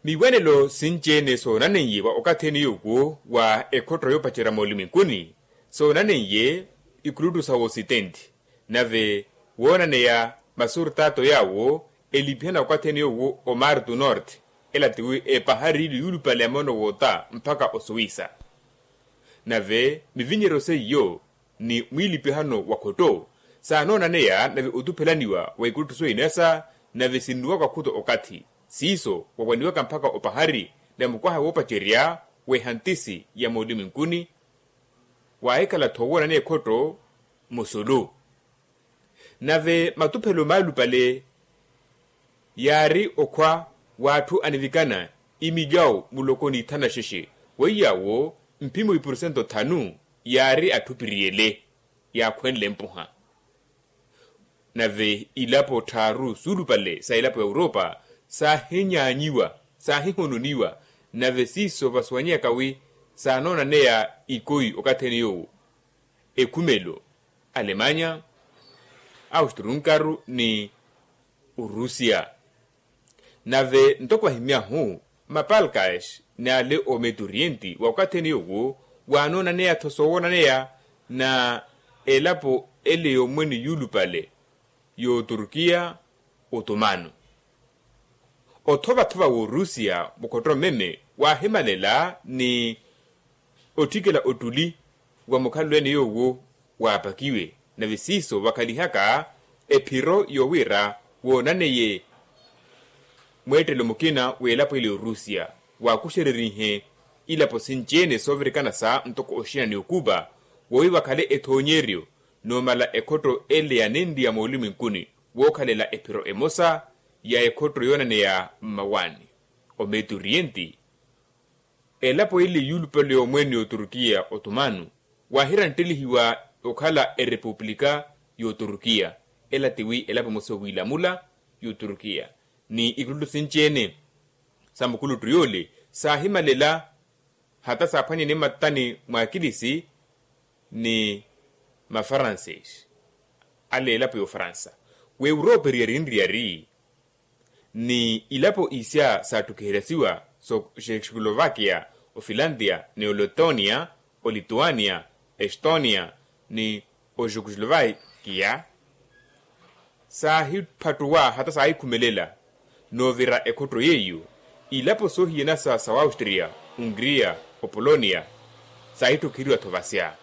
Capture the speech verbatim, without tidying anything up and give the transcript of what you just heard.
Miwanelo sinci-ene soonaneiye wa okathi ene yoowo wa ekhotto yoopacerya moolumwenkuni, soonaneiye ikuluttu sa wositenti. Nave woonaneya masurtato yaawo elipihana okathi ene yoowo omar du norte, ela tiwi epahari ile yuulupale ya moono woota mpakha osuwisa. Nave mivinyeryo seiyo ni mwiilipihano wa khotto saanoonaneya nave otuphelaniwa wa ikuluttu soyinasa, nave sinnuwaka okhuta okathi siiso wawaniwaka mpakha opahari, nave mukwaha woopacerya w'ehantisi ya moolumwenkuni waahikhala-tho woonaneya ekhotto musulu. Nave matuphelo maalupale yaari okhwa w'atthu anivikana imilyawu muloko n'ithanu na xexe, weiy'awo mphimo ipursento thanu yaari atthu piriyele yaakhwenle mpuha. Nave ilapo tthaaru suulupale sa ilapo ya europa saahinyaanyiwa, saahihononiwa. Nave siiso vasuwanyeyaka wi saanoonaneya ikoyi okathi ene yoowo ekhumelo, alemanya, austrunkaru ni orusia. Nave ntoko ahimyahu mapalkas n'ale ometu orienti wa okathi ene yoowo waanoonaneya-tho soowoonaneya na elapo ele y'omwene yuulupale y'oturkiya otumano. Othova-thova w'orusia mukhotto mmeme waahimalela ni otthikela ottuli wa mukhalelo ene yoowo waapakiwe. Nave siiso vakhalihaka ephiro yowira woonaneye mweettelo mukina w'elapo ile y'orusia waakuxererihe ilapo sinci-ene soovirikana sa ntoko oxina ni okupa, wowi vakhale ethoonyeryo noomala ekhotto ele ya nenri ya moolumwenkuni wookhalela ephiro emosa ya ekhotto yoonaneya mmawaani. Ometu orienti elapo ile yuulupale y'omwene y'oturkiya otumano waahiranttelihiwa okhala erepuplika y'oturkiya, ela tiwi elapo emosa owiilamula y'oturkiya ni ikuluttu sinci-ene sa mukuluttu yoole saahimalela hata saaphwanyane mmattani mw'akilisi ni mafaransesi ale elapo y'ofaransa w'europa eriyari nriyari ni ilapo isya saatthukiheryasiwa so chekoslovakia, ofilantia ni oletonia, olituania, estonia ni ojukoslovakia saahiphattuwa hata saahikhumelela noovira ekhotto yeiyo. Ilapo soohiyanasa sa waustria, ungria, opolonia saahitthukiheriwa-tho vasya.